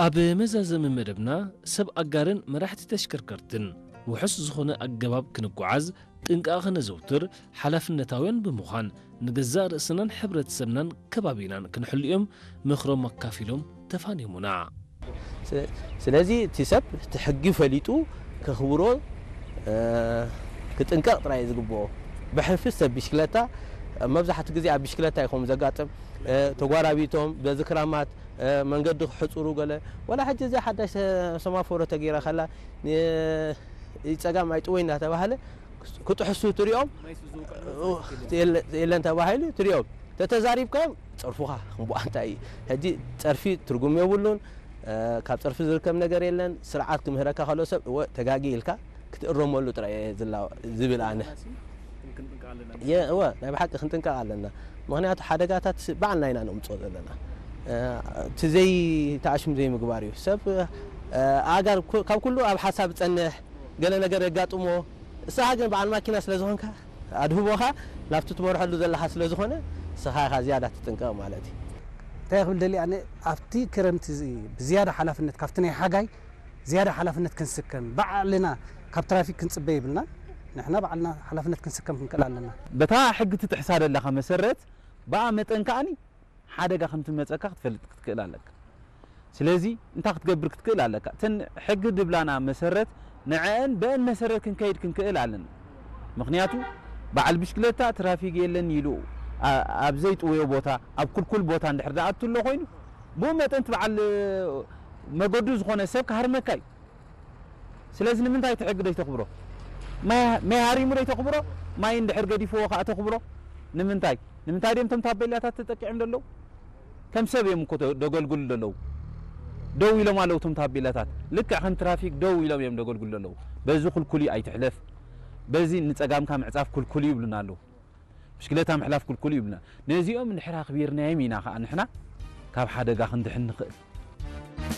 ኣብ መዛዘሚ መደብና ሰብ ኣጋርን መራሕቲ ተሽከርከርትን ውሑስ ዝኾነ ኣገባብ ክንጓዓዝ ጥንቃቐ ከነዘውትር ሓላፍነታውያን ብምዃን ንገዛእ ርእስናን ሕብረተሰብናን ከባቢናን ክንሕልዮም ምኽሮም ኣካፊሎም ተፋኒሙና። ስለዚ እቲ ሰብ እቲ ሕጊ ፈሊጡ ከኽብሮ ክጥንቀቕ ጥራይ ዝግብኦ። ብሕልፊ ሰብ ብሽክለታ መብዛሕትኡ ግዜ ኣብ ብሽክለታ ይኸውን ዘጋጥም። ተጓራቢቶም በዚ ክራማት መንገዲ ክሕፅሩ ገለ ወላ ሕጂ እዚኣ ሓዳሽ ሰማፎሮ ተገይራ ከላ ፀጋም ኣይጥወይ እናተባህለ ክጥሕሱ ትሪኦም የለን ተባሂሉ ትሪኦም ተተዛሪብካዮም ፀርፉኻ ክንቡኣ እንታይ እዩ ሕጂ ፀርፊ ትርጉም የብሉን ካብ ፀርፊ ዝርከብ ነገር የለን ስርዓት ክምህረካ ከሎ ሰብ እወ ተጋጊ ኢልካ ክትእረመሉ ጥራይ እየ ዝብል ኣነ እወ ናይ ብሓቂ ክንጥንቀቕ ኣለና ምክንያቱ ሓደጋታት በዓልና ኢና ነምፅኦ ዘለና እቲ ዘይተኣሽም ዘይምግባር እዩ ሰብ ኣእጋር ካብ ኩሉ ኣብ ሓሳብ ፀንሕ ገለ ነገር የጋጥሞ ንስኻ ግን በዓል ማኪና ስለ ዝኾንካ ኣድህቦኻ ናብቲ ትመርሐሉ ዘለኻ ስለ ዝኾነ ንስኻ ኢኻ ዝያዳ ትጥንቀቕ ማለት እዩ። እንታይ ክብል ደልየ ኣነ ኣብቲ ክረምቲ እዚ ብዝያዳ ሓላፍነት ካብቲ ናይ ሓጋይ ዝያዳ ሓላፍነት ክንስከም ባዕልና ካብ ትራፊክ ክንፅበ የብልናን ንሕና ባዕልና ሓላፍነት ክንስከም ክንክእል ኣለና። በታ ሕጊ ትጥሕሳ ዘለኻ መሰረት ብኣ መጠን ከኣኒ ሓደጋ ከም ትመፀካ ክትፈልጥ ክትክእል ኣለካ። ስለዚ እንታይ ክትገብር ክትክእል ኣለካ? እተን ሕጊ ድብላና መሰረት ንዐአን በአን መሰረት ክንከይድ ክንክእል ኣለና። ምኽንያቱ በዓል ብሽክለታ ትራፊክ የለን ኢሉ ኣብ ዘይጥውዮ ቦታ ኣብ ኩልኩል ቦታ እንድሕር ዝኣቱ ኣሎ ኮይኑ ብኡ መጠን እቲ በዓል መገዱ ዝኾነ ሰብ ክሃርመካ እዩ። ስለዚ ንምንታይ እቲ ሕጊ ደይተኽብሮ? ማይ ሃሪሙ ደይተኽብሮ? ማይ እንድሕር ገዲፍዎ ከዓ ተኽብሮ? ንምንታይ? ንምንታይ ድዮም እቶም ታቤላታት ተጠቂዖም ዘለዉ? ከም ሰብ እዮም እኮ ደገልግሉ ዘለዉ። ደው ኢሎም ኣለዉ እቶም ታቤላታት። ልክዕ ከም ትራፊክ ደው ኢሎም እዮም ደገልግሉ ዘለዉ። በዚ ኩልኩል እዩ ኣይትሕለፍ። በዚ ንፀጋምካ ምዕፃፍ ኩልኩል እዩ ይብሉና ኣለዉ። ብሽክለታ ምሕላፍ ኩልኩል እዩ ይብሉና። ነዚኦም እንድሕር ኣኽቢርናዮም ኢና ከዓ ንሕና ካብ ሓደጋ ክንድሕን ንኽእል።